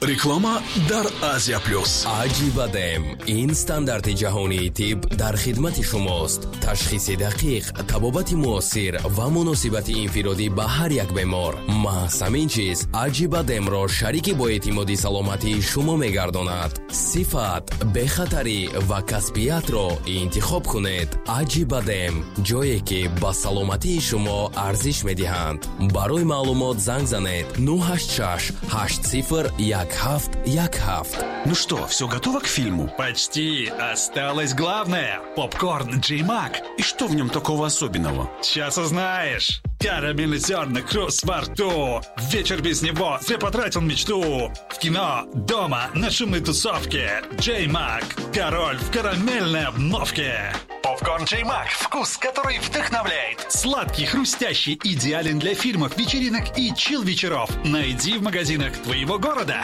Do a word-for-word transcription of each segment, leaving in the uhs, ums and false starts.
Реклама дар Азия Плюс. Аҷибадем ин стандарти ҷаҳонии тиб дар хидмати шумост. Ташхиси дақиқ, табобати муосир ва муносибати инфиродӣ ба ҳар як бемор. Маҳз ҳамин чиз Аҷибадемро шарики боэътимоди саломатии шумо мегардонад. Сифат, бехатарӣ ва касбиятро интихоб кунед. Аҷибадем ҷое ки ба саломатии шумо арзиш медиҳанд. Барои маълумот занг занед нӯҳ ҳашт шаш ҳашт сифр як ҳафт як ҳафт. Ну что, все готово к фильму? Почти. Осталось главное. Попкорн Джей Мак. И что в нем такого особенного? Сейчас узнаешь. Карамельный зерна, хруст во рту. Вечер без него зря потратил мечту. В кино, дома, на шумной тусовке. Джей Мак. Король в карамельной обновке. Попкорн Джей Мак. Вкус, который вдохновляет. Сладкий, хрустящий, идеален для фильмов, вечеринок и чил-вечеров. Найди в магазинах твоего города.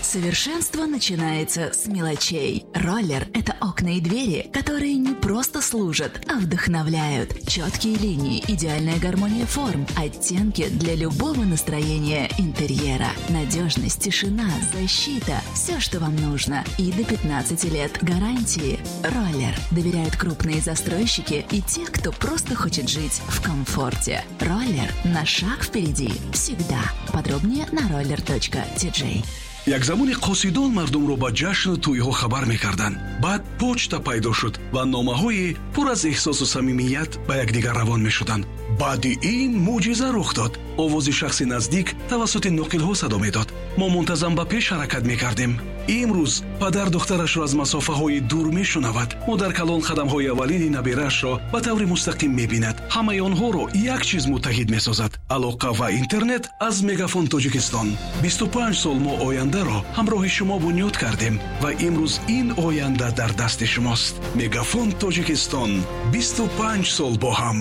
Совершенство начинается с мелочей. Роллер – это окна и двери, которые не просто служат, а вдохновляют. Четкие линии, идеальная гармония форм, оттенки для любого настроения интерьера. Надежность, тишина, защита – все, что вам нужно. И до пятнадцати лет гарантии. Роллер. Доверяют крупные застройщики и те, кто просто хочет жить в комфорте. Роллер на шаг впереди всегда. Подробнее на роллер точка ти джей. Як замоне қосидон мардумро ба ҷашну тӯйҳо хабар мекарданд. Баъд почта пайдо шуд ва номаҳои пур аз эҳсосу самимият ба якдигар равон мешуданд. Баъди ин мӯъҷиза рух дод. Овози шахси наздик тавассути ноқилҳо садо медод. Мо мунтазам ба пеш ҳаракат мекардем. Имрӯз падар духтарашро аз масофаҳои дур мешунавад. Модар калон қадамҳои аввалини набираашро ба таври мустақим мебинад. Ҳамаи онҳоро як чиз муттаҳид месозад: алоқа ва интернет аз Мегафон Тоҷикистон. Бисту панҷ сол мо ояндаро ҳамроҳи шумо бунёд кардем ва имрӯз ин оянда дар дасти шумост. Мегафон Тоҷикистон, бисту панҷ сол бо ҳам.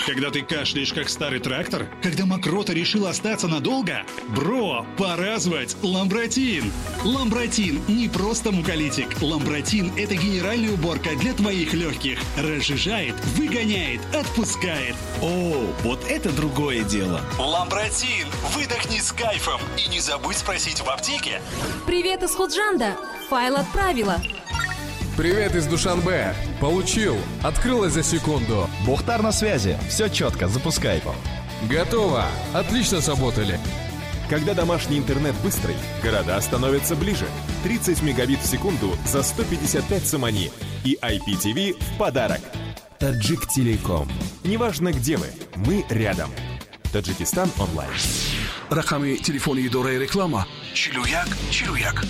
Когда ты кашляешь, как старый трактор? Когда мокрота решила остаться надолго? Бро, пора звать Ламбратин! Ламбратин не просто муколитик. Ламбратин – это генеральная уборка для твоих легких. Разжижает, выгоняет, отпускает. О, вот это другое дело! Ламбратин! Выдохни с кайфом! И не забудь спросить в аптеке. Привет из Худжанда! Файл отправила. Привет из Душанбе. Получил. Открылось за секунду. Бухтар на связи. Все четко. Запускай. Готово. Отлично сработали. Когда домашний интернет быстрый, города становятся ближе. тридцать мегабит в секунду за сто пятьдесят пять сомони. И ай пи ти ви в подарок. Таджик Телеком. Неважно, где вы, мы рядом. Таджикистан онлайн. Рақами телефони идораи реклама чилу як чилу як.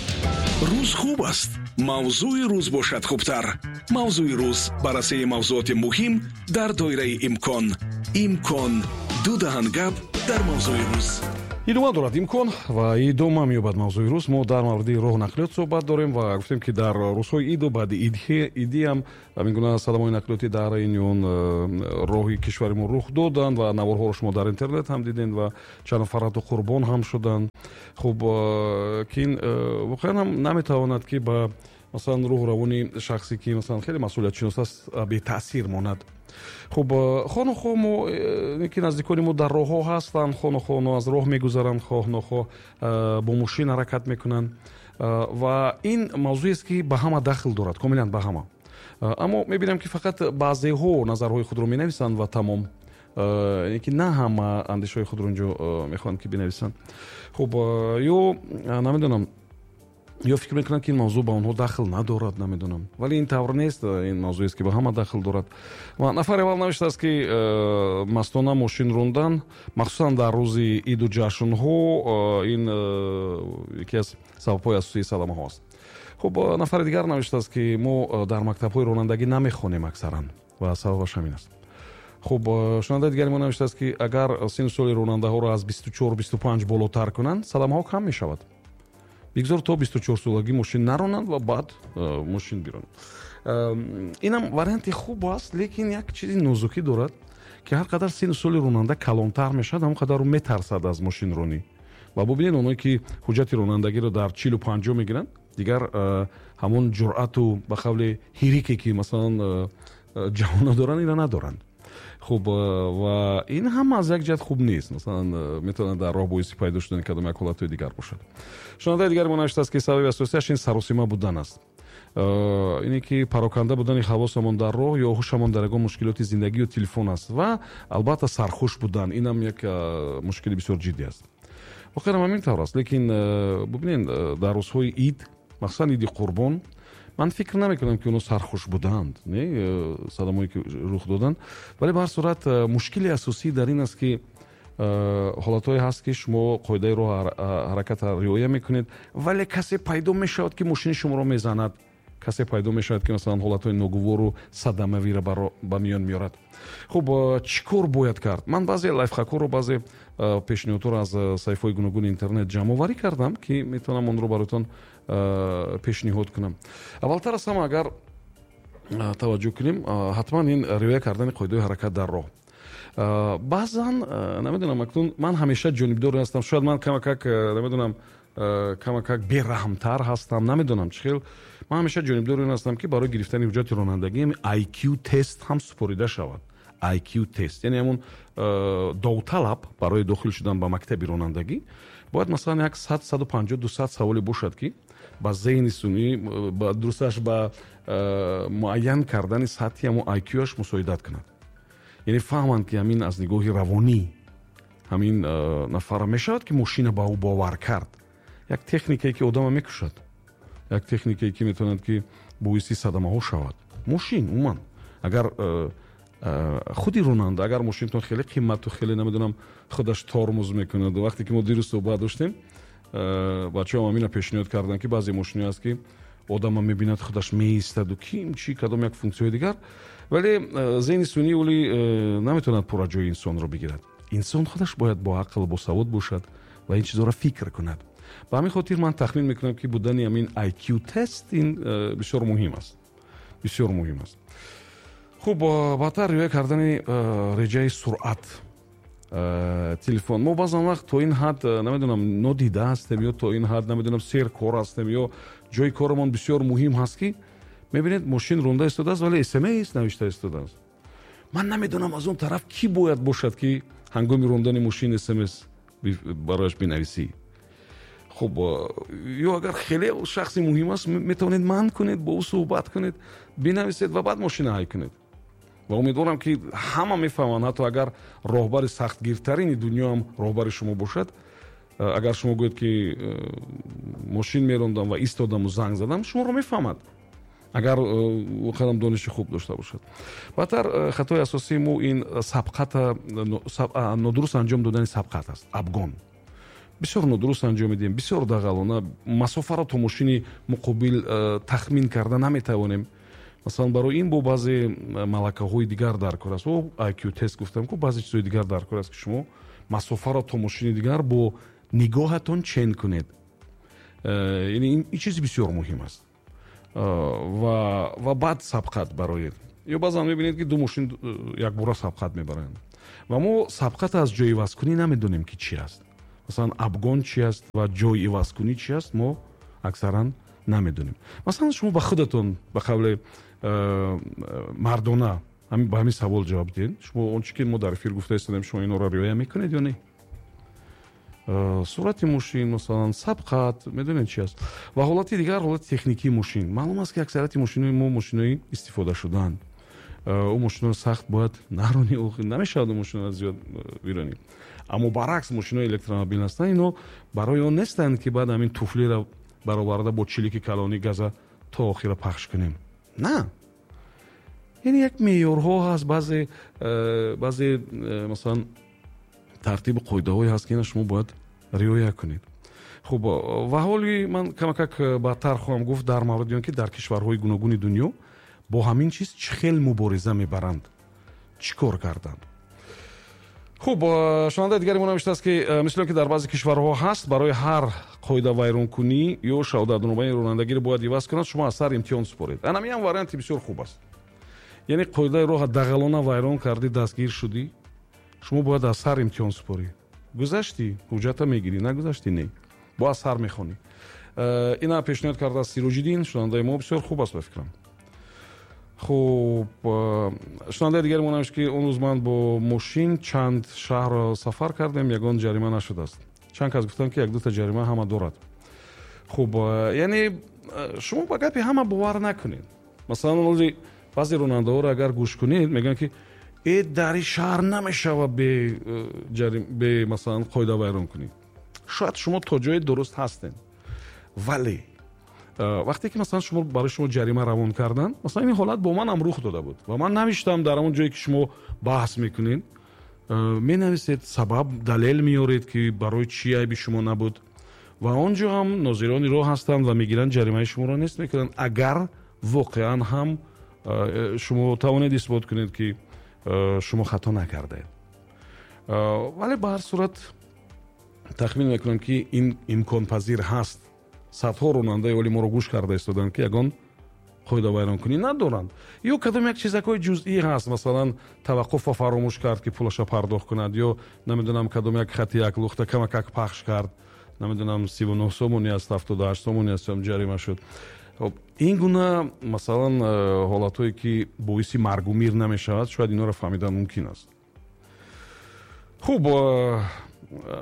Рӯз хуб аст. Мавзӯи рӯз бошад хубтар. Мавзӯи рӯз баррасии мавзӯоти муҳим дар доираи имкон. Имкон. Ду даҳан гап дар мавзӯи рӯз. Идома дорад имкон ва идома меёбад мавзӯи рӯз. Мо дар мавриди роҳу нақлиёт суҳбат дорем ва гуфтем, ки дар рӯзҳои иду баъди идӣ ҳам ҳамин гуна садамаҳои нақлиётӣ дар ин ё он роҳи кишвари мо рух доданд ва наворҳоро шумо дар интернет ҳам дидем ва чанд нафар ҳатто қурбон ҳам шуданд. Хуб, ки ин воқеан ҳам наметавонад, ки ба масалан рӯҳу равони шахсе, ки масалан хеле масъулиятшинос аст, бетаъсир монад. Хуб, хонухоҳ мо, ки наздикони мо дар роҳҳо ҳастанд, хонухоҳ онҳо аз роҳ мегузаранд, хоҳ нохоҳ бо мошин ҳаракат мекунанд ва ин мавзӯест, ки ба ҳама дахл дорад, комилан ба ҳама. Аммо мебинам, ки фақат баъзеҳо назарҳои худро менависанд ва тамом. Яъне ки на ҳама андешаҳои худро инҷо мехоҳанд, ки бинависанд. Хуб, ё намедонам, ё фикр мекунанд, ки ин мавзӯъ ба онҳо дахл надорад, намедонам. Вале ин тавр нест, ин мавзӯест, ки ба ҳама дахл дорад. Ва нафари аввал навиштааст, ки мастона мошин рондан, махсусан дар рӯзи иду ҷашнҳо, ин яке аз сабабҳои асосии садамаҳо аст. Хуб, нафари дигар навиштааст, ки мо дар мактабҳои ронандагӣ намехонем аксаран ва сабабаш ҳамин аст. Хуб, шунавандаи дигари мо навиштааст, ки агар синну соли ронандаҳоро аз бисту чор бисту панҷ болотар кунанд, садамаҳо кам мешавад. Бигзор то бисту чор солагӣ мошин наронанд ва баъд мошин биронанд. Инам варианти хуб аст, лекин як чизи нозукӣ дорад, ки ҳар қадар синну соли ронанда калонтар мешавад, ҳамон қадар ӯ метарсад аз мошинронӣ. Ва бубинед, оное ки ҳуҷҷати ронандагиро дар чилу панҷоҳ мегиранд, дигар ҳамон ҷуръату ба қавли ҳирике, ки масалан ҷавонон доранд, инро надоранд. Хуб, ва ин ҳам аз як ҷиҳат хуб нест. Масалан, метавонад дар роҳ боиси пайдо шудани кадом як ҳолатҳои дигар бошад. Шунавандаи дигари мо навиштааст, ки сабаби асосияш ин саросима будан аст. Ине ки пароканда будани ҳавосамон дар роҳ ё ҳушамон дар ягон мушкилоти зиндагӣ ё телефон аст ва албатта сархуш будан, инам як мушкили бисёр ҷиддӣ аст. Воқеан ҳамин тавр аст, лекин бубинед, дар рӯзҳои ид, махсусан иди Қурбон, ман фикр намекунам, ки онҳо сархуш буданд, не, садамое ки рух доданд, вале ба ҳар сурат мушкили асосӣ дар ин аст, ки ҳолатҳое ҳаст, ки шумо қоидаи роҳ ҳаракатро риоя мекунед, вале касе пайдо мешавад, ки мошини шуморо мезанад, касе пайдо мешавад, ки масалан ҳолатҳои ногувору садамавиро ба миён меорад. Хуб, чӣ кор бояд кард? Ман баъзе лайфхакҳоро, баъзе пешниҳодҳоро аз саҳифаҳои гуногуни интернет ҷамъоварӣ кардам, ки метавонам онро бароятон пешниҳод кунам. Аввалтар аз ҳама, агар таваҷҷӯҳ кунем, ҳатман ин риоя кардани қоидаҳои ҳаракат дар роҳ. Баъзан намедонам, акнун ман ҳамеша ҷонибдор ҳастам, шояд ман камакак намедонам, камакак бераҳмтар ҳастам, намедонам чӣ хел. Ман ҳамеша ҷонибдори ин ҳастам, ки барои гирифтани ҳуҷҷати ронандагӣ ай кю тест ҳам супорида шавад. ай кю тест, яъне ҳамон довталаб барои дохил шудан ба мактаби ронандагӣ бояд масалан як сад, саду панҷоҳ, дусад саволе бошад, ки ба зеҳни сунъӣ, ба дурусташ ба муайян кардани сатҳи ҳамон ай кю-аш мусоидат кунад. Яъне фаҳманд, ки ҳамин аз нигоҳи равонӣ ҳамин нафара мешавад, ки мошина ба ӯ бовар кард. Як техникае, ки одама мекушад, як техникае, ки метавонад, ки боиси садамаҳо шавад. Мошин умуман, агар худи ронанда, агар мошинтон хеле қимату хеле намедонам худаш тормоз мекунад. Вақте ки мо дирӯз суҳбат доштем, бачаҳо ҳамина пешниҳод карданд, ки баъзе мошинҳо аст, ки одама мебинад, худаш меистаду ким чӣ кадом як функсияи дигар, вале зеҳни сунъӣ оли наметавонад пурра ҷои инсонро бигирад. Инсон худаш бояд бо ақл, босавод бошад ва ин чизҳоро фикр кунад. Ба ҳамин хотир ман тахмин мекунам, ки будани ҳамин ай кю тест ин бисёр муҳим аст, бисёр муҳим аст. Хуб, баъдтар риоя кардани реҷаи суръат, телефон. Мо баъзан вақт то ин ҳад намедонам нодида ҳастем ё то ин ҳад намедонам серкор ҳастем ё ҷои корамон бисёр муҳим ҳаст, ки мебинед мошин ронда истодааст, вале эс эм эс навишта истодааст. Ман намедонам аз он тараф кӣ бояд бошад, ки ҳангоми рондани мошин эс эм эс барояш бинависӣ. Хуб, ё агар хеле шахси муҳим аст, метавонед манъ кунед, бо ӯ суҳбат кунед, бинависед ва баъд мошина ҳай кунед. Ва умедворам, ки ҳама мефаҳманд, ҳатто агар роҳбари сахтгиртарини дунё ҳам роҳбари шумо бошад, агар шумо гӯед, ки мошин мерондам ва истодаму занг задам, шуморо мефаҳмад, агар воқеан дониши хуб дошта бошад. Баъдтар хатои асосии мо ин сабқата, нодуруст анҷом додани сабқат аст. Обгон бисёр нодуруст анҷом медиҳем, бисёр дағалона, масофаро то мошини муқобил тахмин карда наметавонем. Масалан, барои ин бо баъзе малакаҳои дигар дар кор аст. О ай кю тест гуфтам ку, баъзе чизҳои дигар дар кор аст, ки шумо масофаро то мошини дигар бо нигоҳатон чен кунед. Яъне ин чизи бисёр муҳим аст. Ва ва баъд сабқат бароед. Ё баъзан мебинед, ки ду мошин якбора сабқат мебаранд ва мо сабқат аз ҷои ивазкунӣ намедонем, ки чӣ аст. Масалан, обгон чӣ аст ва ҷои ивазкунӣ чӣ аст, мо аксаран намедонем. Масалан, шумо ба худатон ба қавли мардона ба ҳамин савол ҷавоб диҳед: шумо он чӣ ки мо дар эфир гуфта истодем, шумо инҳоро риоя мекунед ё не? Суръати мошин, масалан, сабқат медонед чи аст? Ва ҳолати дигар, ҳолати техникии мошин. Маълум аст, ки аксарияти мошинои мо мошинои истифода шудаанд. Ӯ мошиноро сахт бояд наронӣ, намешавад мошиноро зиёд биронӣ. Аммо баръакс, мошинои электромобил ҳастанд, ино барои он нестанд, ки баъд ҳамин туфлиро бароварда бо чилики калони газа то охира пахш кунем. На, яъне як меъёрҳо ҳаст, баъзе баъзе масалан тартибу қоидаҳое ҳаст, ки ина шумо бояд риоя кунед. Хуб, ва ҳоли ман камакак баъдтар хоҳам гуфт дар мавриди он, ки дар кишварҳои гуногуни дунё бо ҳамин чиз чӣ хел мубориза мебаранд, чӣ кор карданд. Хуб, шунавандаи дигари мо навиштааст, ки мисли он ки дар баъзе кишварҳо ҳаст, барои ҳар қоидавайронкунӣ ё шаҳодатномаи ронандагиро бояд иваз кунад, шумо аз сар имтиҳон супоред. Анамиам варианти бисёр хуб аст. Яъне қоидаи роҳа дағалона вайрон кардӣ, дастгир шудӣ, шумо бояд аз сар имтиҳон супорӣ. Гузаштӣ, ҳуҷҷата мегирӣ, нагузаштӣ, не, бо аз сар мехонӣ. Ина пешниҳод кардааст Сироҷиддин, шунавандаи мо, бисёр хуб аст ба фикрам. Хуб, шунавандаи дигари мо навишт, ки он рӯз ман бо мошин чанд шаҳрро сафар кардем, ягон ҷарима нашудааст. Чанд кас гуфтанд, ки як дута ҷарима ҳама дорад. Хуб, яъне шумо ба гапи ҳама бовар накунед. Масалан, баъзе ронандаҳоро агар гӯш кунед, мегӯянд, ки э дар ин шаҳр намешавад бе бе масалан қоида вайрон кунӣ. Шояд шумо то ҷое дуруст ҳастед, вале вақте ки масалан шумо барои шумо ҷарима равон карданд, масалан ин ҳолат бо ман ҳам рух дода буд ва ман навиштам дар он ҷое ки шумо баҳс мекунед, менависед, сабаб, далел меоред, ки барои чӣ айби шумо набуд, ва он ҷо ҳам нозирони роҳ ҳастанд ва мегиранд ҷаримаи шуморо нест мекунанд, агар воқеан ҳам шумо тавонед исбот кунед, ки шумо хато накардаед. Вале ба ҳар сурат тахмин мекунам, ки ин имконпазир ҳаст. Садҳо ронандаи оли моро гӯш карда истоданд, ки ягон қоидавайронкунӣ надоранд. Ё кадом як чизакҳои ҷузъӣ ҳаст, масалан таваққуфро фаромӯш кард, ки пулаша пардохт кунад, ё намедонам кадом як хати як лухта камакак пахш кард, намедонам сиву нӯҳ сомонӣ аст, ҳафтоду ҳашт сомонӣ аст, ҷарима шуд. Ин гуна масалан ҳолатҳое ки боиси маргу мир намешавад, шояд инҳоро фаҳмидан мумкин аст. Хуб,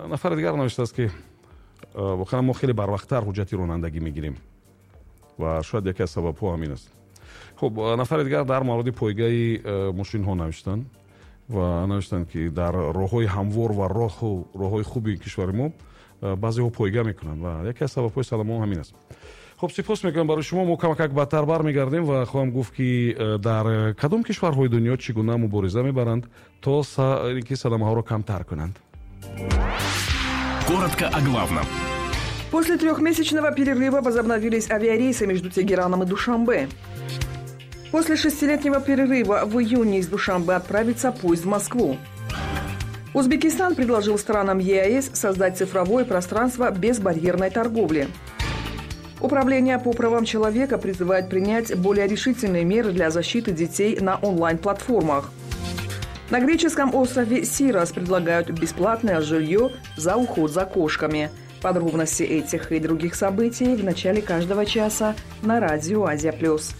нафари дигар навиштааст, ки воқеан мо хеле барвақттар ҳуҷҷати ронандагӣ мегирем ва шояд яке аз сабабҳо ҳамин аст. Хуб, нафари дигар дар мавриди пойгаи мошинҳо навиштанд ва навиштанд, ки дар роҳҳои ҳамвор ва роҳу роҳҳои хуби кишвари мо баъзеҳо пойга мекунанд ва яке аз сабабҳои садамаҳо ҳамин аст. Хуб, сипос мекунам барои шумо. Мо камакак баъдтар бармегардем ва хоҳам гуфт, ки дар кадом кишварҳои дунё чӣ гуна мубориза мебаранд, то ки садамаҳоро камтар кунанд. Коротко о главном. После трехмесячного перерыва возобновились авиарейсы между Тегераном и Душанбе. После шестилетнего перерыва в июне из Душанбе отправится поезд в Москву. Узбекистан предложил странам ЕАЭС создать цифровое пространство безбарьерной торговли. Управление по правам человека призывает принять более решительные меры для защиты детей на онлайн-платформах. На греческом острове Сирос предлагают бесплатное жилье за уход за кошками. Подробности этих и других событий в начале каждого часа на радио «Азия плюс».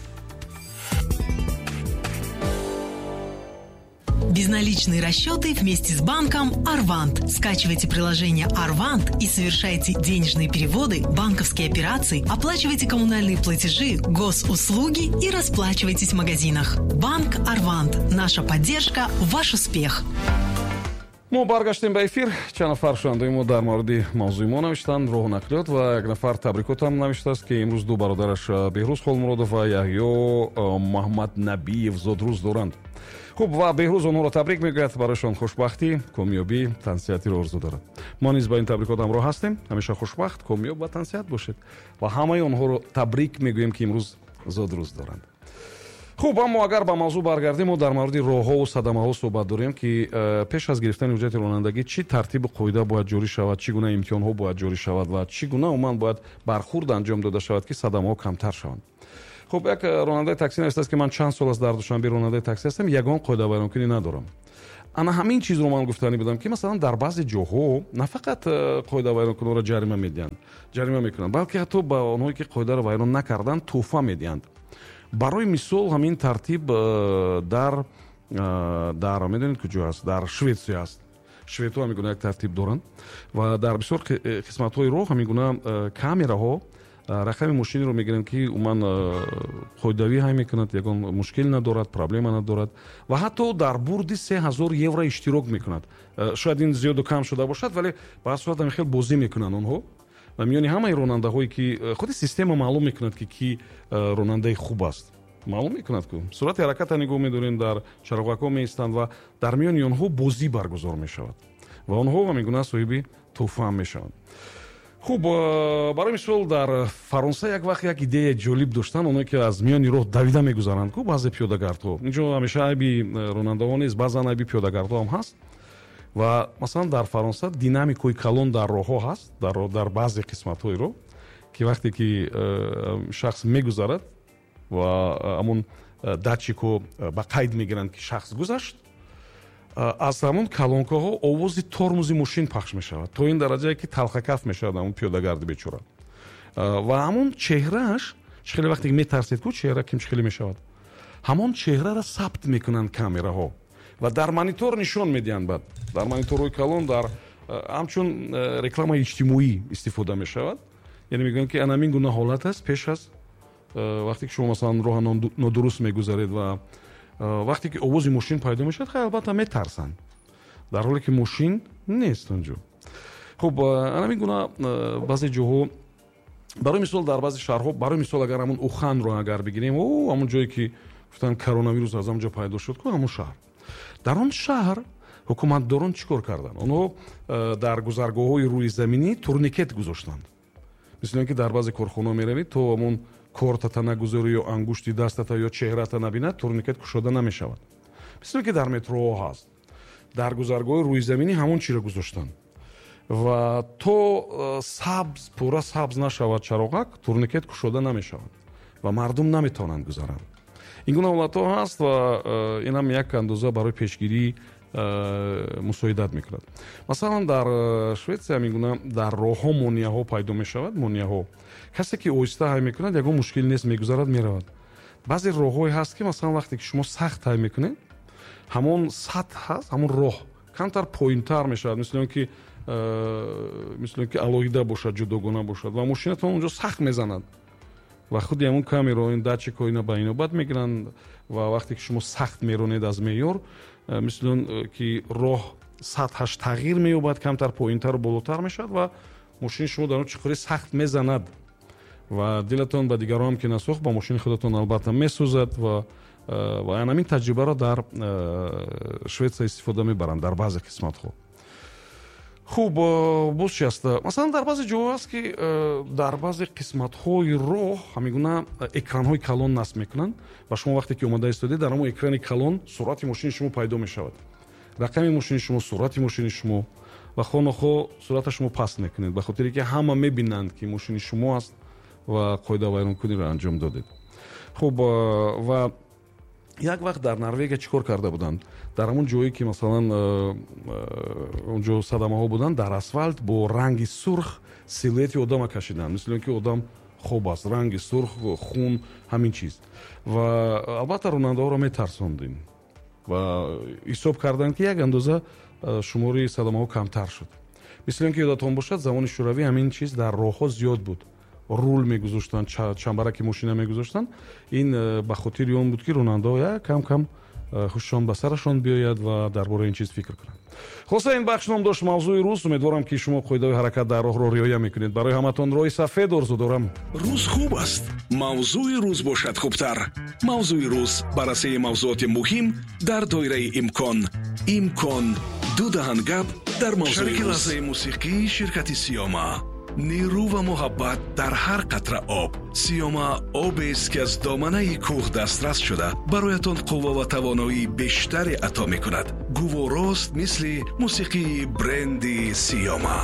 Безналичные расчеты вместе с банком «Арвант». Скачивайте приложение «Арвант» и совершайте денежные переводы, банковские операции, оплачивайте коммунальные платежи, госуслуги и расплачивайтесь в магазинах. Банк «Арвант». Наша поддержка – ваш успех. Мо баргаштем ба эфир. Чанд нафар шунавандаи мо дар мавриди мавзӯи мо навиштанд, роҳу нақлиёт, ва як нафар табрикотам навиштааст, ки имрӯз ду бародараш Беҳрӯз Холмуродов ва Яҳё Маҳмаднабиев зодрӯз доранд. Хуб, ва Беҳрӯз онҳоро табрик мегӯяд, барояшон хушбахтӣ, комёбӣ, тансиҳатиро орзу дорад. Мо низ ба ин табрикот ҳамроҳ ҳастем. Ҳамеша хушбахт, комёб ва тансиҳат бошед ва ҳамаи онҳоро табрик мегӯем, ки имрӯз зодрӯз доранд. Хуб, аммо агар ба мавзӯъ баргардем, мо дар мавриди роҳҳову садамаҳо суҳбат дорем, ки пеш аз гирифтани ҳуҷҷати ронандагӣ чӣ тартибу қоида бояд ҷорӣ шавад, чӣ гуна имтиҳонҳо бояд ҷорӣ шавад ва чӣ гуна умуман бояд бархурд анҷом дода шавад, ки садамаҳо камтар шаванд. Хуб, як ронандаи таксӣ навиштааст, ки ман чанд сол аст дар Душанбе ронандаи таксӣ ҳастам, ягон қоидавайронкунӣ надорам. Ана ҳамин чизро ман гуфтанӣ будам, ки масалан дар баъзе ҷоҳо на фақат қоидавайронкунонро ҷарима медиҳанд, ҷарима мекунанд, балки ҳатто ба онҳое ки қоидаро вайрон накарданд тӯҳфа медиҳанд. Барои мисол ҳамин тартиб дар дар медонед куҷо аст? Дар Шветсия аст. Шведҳо ҳамин гуна як тартиб доранд ва дар бисёр қисматҳои роҳ ҳамин гуна камераҳо рақами мошинеро мегиранд, ки умуман қоидавӣ ҳай мекунад, ягон мушкил надорад, проблема надорад ва ҳатто дар бурди се ҳазор евро иштирок мекунад. Шояд ин зиёду кам шуда бошад, вале ба ҳар сурат ҳамин хел бозӣ мекунанд онҳо ва миёни ҳамаи ронандаҳое ки худи система маълум мекунад, ки ки ронандаи хуб аст, маълум мекунад, ку суръати ҳаракатро нигоҳ медорем, дар чароғакҳо меистанд ва дар миёни онҳо бозӣ баргузор мешавад ва онҳо ҳамин гуна соҳиби тӯҳфа мешаванд. Хуб, барои мисол дар Фаронса як вақт як идеяи ҷолиб доштанд, оное ки аз миёни роҳ давида мегузаранд, ку баъзе пиёдагардҳо. Инҷо ҳамеша айби ронандаҳо нест, баъзан айби пиёдагардҳо ҳам ҳаст. Ва масалан дар Фаронса динамикои калон дар роҳҳо ҳаст, дар, дар баъзе қисматҳои роҳ, ки вақте ки шахс мегузарад ва ҳамон датчикҳо ба қайд мегиранд, ки шахс гузашт, аз ҳамон калонкаҳо овози тормози мошин пахш мешавад, то ин дараҷае ки талхакаф мешавад ҳамон пиёдагарди бечора. Ва ҳамон чеҳрааш, чӣ хеле вақте ки метарсед, ку чеҳра ким чӣ хеле мешавад, Ҳамон чеҳраро сабт мекунанд камераҳо ва дар монитор нишон медиҳанд. Баъд дар мониторҳои калон дар ҳамчун рекламаи иҷтимоӣ истифода мешавад. Яъне мегӯянд, ки ана ҳамин гуна ҳолат аст пеш аз вақте ки шумо масалан роҳа нодуруст мегузаред ва вақте ки овози мошин пайдо мешавад, хай, албатта метарсанд, дар ҳоле ки мошин нест онҷо. Хуб, ана ҳамин гуна баъзе ҷоҳо, барои мисол дар баъзе шаҳрҳо, барои мисол агар ҳамон Уханро агар бигирем, о ҳамон ҷое ки гуфтанд коронавирус аз ҳамон ҷо пайдо шуд ку, ҳамон шаҳр, дар он шаҳр ҳукуматдорон чӣ кор карданд? Онҳо дар гузаргоҳҳои рӯизаминӣ турникет гузоштанд. Мисли он ки дар баъзе корхонаҳо меравед, то ҳамон кортата нагузорӣ ё ангушти дастата ё чеҳрата набинад, турникет кушода намешавад. Мисли он ки дар метроҳо ҳаст, дар гузаргоҳи рӯизаминӣ ҳамон чиро гузоштанд ва то сабз, пурра сабз нашавад чароғак, турникет кушода намешавад ва мардум наметавонанд гузаранд. Ин гуна ҳолатҳо ҳаст ва инам як андоза барои пешгирӣ мусоидат мекунад. Масалан, дар Шветсия ҳамин гуна дар роҳҳо монеаҳо пайдо мешавад. Монеаҳо, касе ки оҳиста ҳай мекунад, ягон мушкил нест, мегузарад, меравад. Баъзе роҳҳое ҳаст, ки масалан вақте ки шумо сахт ҳай мекунед, ҳамон сатҳ ҳаст, ҳамон роҳ камтар поинтар мешавад, мисли он ки мисли он ки алоҳида бошад, ҷудогона бошад ва мошинатон онҷо сахт мезанад ва худи ҳамон камераҳо, ин датчикҳо ина ба инобат мегиранд ва вақте ки шумо сахт меронед аз меъёр, мисли он ки роҳ сатҳаш тағйир меёбад, камтар поинтару болотар мешавад ва мошини шумо дар он чуқурӣ сахт мезанад ва дилатон ба дигарон ки насӯхт, ба мошини худатон албатта месӯзад. ва ва ҳамин таҷрибаро дар Шветсия истифода мебаранд дар баъзе қисматҳо. Хуб, боз чи аст? Масалан, дар баъзе ҷоҳо аст, ки дар баъзе қисматҳои роҳ ҳамин гуна экранҳои калон насб мекунанд ва шумо вақте ки омода истодед, дар ҳамон экрани калон суръати мошини шумо пайдо мешавад, рақами мошини шумо, суръати мошини шумо ва хонохо суръата шумо паст мекунед, ба хотире ки ҳама мебинанд, ки мошини шумо аст ва қоидавайронкуниро анҷом додед. Хуб, ва як вақт дар Норвегия чӣ кор карда буданд? Дар ҳамон ҷое ки масалан онҷо садамаҳо буданд, дар асфалт бо ранги сурх силуэти одама кашиданд, мисли он ки одам хоб аст, ранги сурх, хун, ҳамин чиз. Ва албатта ронандаҳоро метарсондем ва ҳисоб карданд, ки як андоза шумори садамаҳо камтар шуд. Мисли он ки ёдатон бошад, замони шӯравӣ ҳамин чиз дар роҳҳо зиёд буд. Рул мегузоштанд, чамбараки мошина мегузоштанд. Ин ба хотири он буд, ки ронандаҳо як кам кам хушшон ба сарашон биёяд ва дар бораи ин чиз фикр кунанд. Хулоса, ин бахш ном дошт мавзӯи рӯз. Умедворам, ки шумо қоидаҳои ҳаракат дар роҳро риоя мекунед. Барои ҳаматон роҳи сафед орзу дорам. Рӯз хуб аст, мавзӯи рӯз бошад хубтар. Мавзӯи рӯз, баррасии мавзӯоти муҳим дар доираи имкон. Имкон ду даҳан гап дар мавзӯи рӯз. Шарики лаҳзаи мусиқӣ ширкати Сиёма. Нерӯ ва муҳаббат дар ҳар қатра об. Сиёма обест, ки аз доманаи кӯҳ дастрас шуда, бароятон қувва ва тавоноии бештаре ато мекунад. Гуворост мисли мусиқии бренди Сиёма.